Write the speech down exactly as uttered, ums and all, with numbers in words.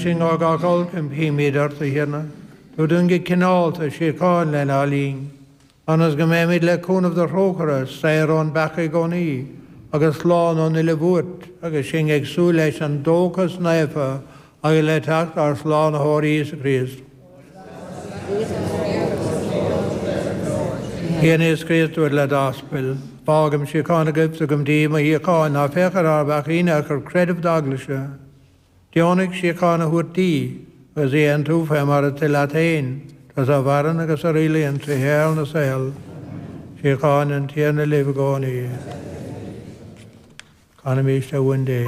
Sinn ó gach olc, impímid ort, a Thiarna, tabhair dúinn go cineálta síocháin lenár linn, ionas go mbeimid le cúnamh do thrócaire, saor ón bpeaca i gcónaí, agus slán ón uile bhuairt, agus sinn ag súil leis an dóchas naofa agus le teacht ár Slánaitheoir Íosa Críost. A Thiarna Íosa Críost, a dúirt le d'aspail, Fágaim síocháin agaibh, tugaim daoibh mo shíocháin, ná féach ar ár bpeacaí ach ar chreideamh d'Eaglaise. Deonaigh síocháin a thabhairt di, agus í a aontú fé mar is toil leat féin, tusa a mhaireann agus a rialaíonn trí shaol na saol. Síocháin an Tiarna libh i gcónaí. Canaimis a Uain Dé.